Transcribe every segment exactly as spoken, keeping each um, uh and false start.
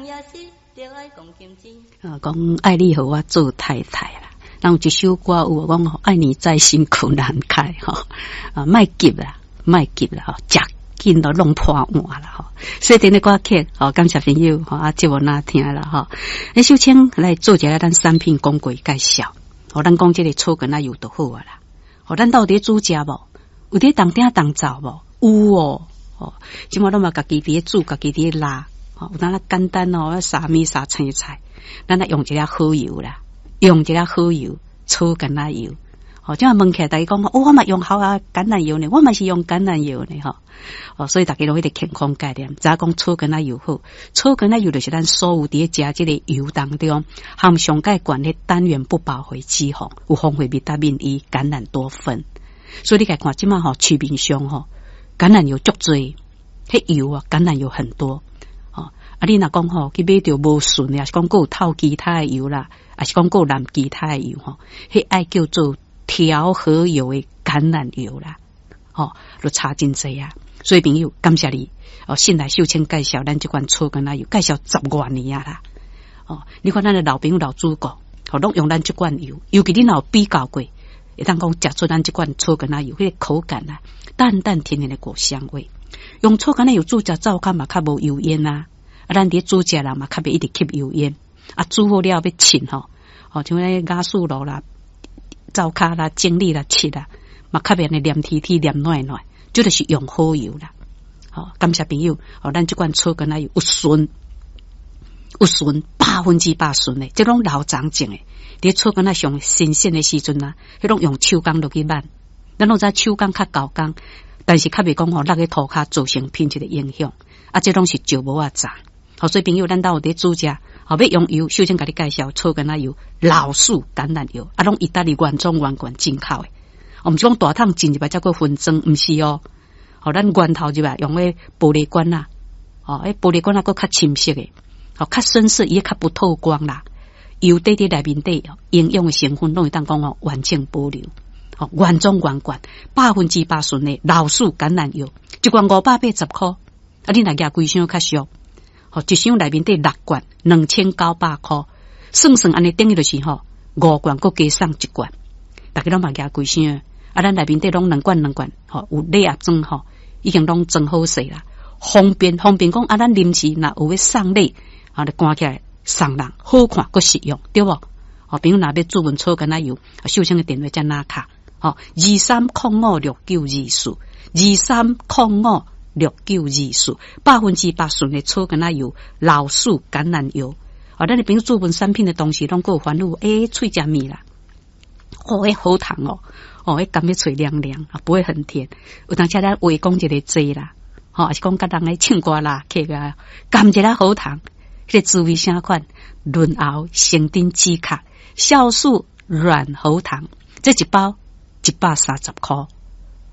也是著愛講金錢。啊，講愛你予我做太太啦。咱有一首歌有講愛你在心口難開吼，啊，莫急啦，莫急啦，吼，食緊都弄破碗啦，吼。所以頂個歌曲，吼，感謝朋友，吼，啊，節目若聽啦，吼。欸，秀清來做一下咱產品廣告介紹，吼，咱講這個草橄欖油就好啊啦。吼，咱到底煮食無？有佇當鼎當灶無？有哦，吼，這馬攏嘛家己佇咧煮，家己佇咧抐，吼，有當仔簡單哦，撒麵撒青菜，咱來用一粒好油啦。用一粒好油，草橄欖油。吼，這馬問起來，大家講，哦，我嘛用好啊，橄欖油呢，我嘛是用橄欖油呢，吼。哦，所以大家攏彼個健康概念，知影講草橄欖油好，草橄欖油就是咱所有佇咧食這個油當中，含上蓋懸的單元不飽和脂肪，有豐富維他命 E、橄欖多酚。所以你共看，這馬吼市面上吼橄欖油足濟，彼油啊，橄欖油很多。吼，啊，你若講吼去買著無純的，抑是講閣有透其他的油啦，抑是講閣有摵其他的油吼，彼愛叫做調和油的橄欖油啦，吼，就差真濟啊。所以朋友，感謝你哦，信賴秀清介紹咱這款草橄欖油，介紹十外年啊啦。哦，你看咱的老朋友老主顧，吼，攏用咱這款油，尤其你若有比較過，會當講食出咱這款草橄欖油，彼個口感啊，淡淡甜甜的果香味。用草橄欖油煮食，灶跤嘛較無油煙啊。啊，咱佇煮食人嘛較袂一直吸油煙。啊，煮好了欲凊吼，吼，像彼瓦斯爐啦、灶跤啦、整理啦、拭啦，嘛較袂按呢黏貼貼、黏軟軟，這就是用好油啦。吼，感謝朋友，吼，咱這款草橄欖油有純，有純百分之百純的，這攏老廠種的。佇草橄欖上新鮮的時陣啊，彼攏用手工落去挽，咱攏知手工較厚工，但是較袂講吼落去塗跤造成品質的影響。啊，這攏是石磨仔榨。好，所以朋友，咱兜有佇煮食，吼，欲用油，首先共你介紹草橄欖油、老樹橄欖油，啊，攏意大利原裝原罐進口的。哦，毋是講大桶進入來才閣分裝，毋是哦。吼，咱源頭入來用彼玻璃罐仔，吼，彼玻璃罐仔閣較深色的，吼，較深色，伊較不透光啦。油底佇內面底營養的成分攏會當講吼完整保留，吼，原裝原罐，百分之百純的老樹橄欖油，一罐五百八十箍，啊，你若舉規箱較俗。吼，一箱內面底六罐，兩千九百箍，算算按呢等於就是吼五罐，閣加送一罐，大家攏嘛舉規箱，啊，咱內面底攏兩罐兩罐，吼，有禮盒裝吼，已經攏裝好勢啦，方便方便講啊，咱臨時若有欲送禮，啊，就關起來送人，好看閣實用，對無？吼，朋友若欲注文草橄欖油，秀清的電話遮拿卡，吼，二三空五六九二四，二三空五六九二四，百分之百純的草橄欖油，老樹橄欖油。哦，咱的朋友注文產品的同時，攏閣有煩惱，欸，喙食物啦，哦，彼好糖哦，哦，彼含咧喙涼涼，啊，不會很甜。有當時咱話講一个濟啦，吼，抑是講佮人咧唱歌啦，客啊，含一个喉糖，彼個滋味啥款？潤喉成頂止咳，酵素軟喉糖，這一包一百三十箍。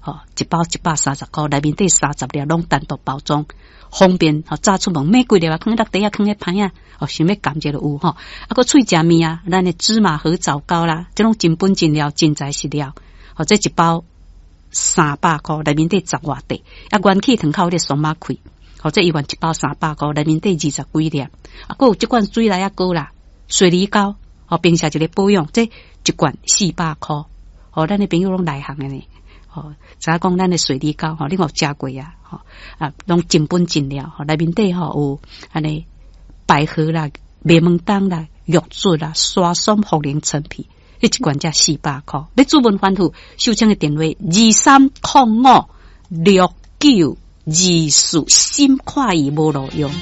吼，一包一百三十箍，內面底三十粒攏單獨包裝，方便吼，早出門買幾粒啊，囥佇落袋仔，囥咧歹仔，哦，想欲含一下就有吼。啊，閣喙食物啊，咱的芝麻核棗糕啦，這種真本真料，真材實料。吼，這一包三百箍，內面底十外塊。啊，元氣糖較有咧鬆仔開，吼，這一罐一包三百箍，內面底二十幾粒。啊，閣有這罐水來仔糕啦，雪梨糕，吼，平時一個保養，這一罐四百箍。吼，咱的朋友攏內行的呢。吼，知影講咱的雪梨糕吼，你有食過啊？吼啊，攏真本真料，吼，內面底吼有按呢百合啦、麥門冬啦、玉竹啦、沙松、茯苓、陳皮，彼一罐才四百箍。欲注文反覆，秀清的電話二三空五六九二四，心快意無路用。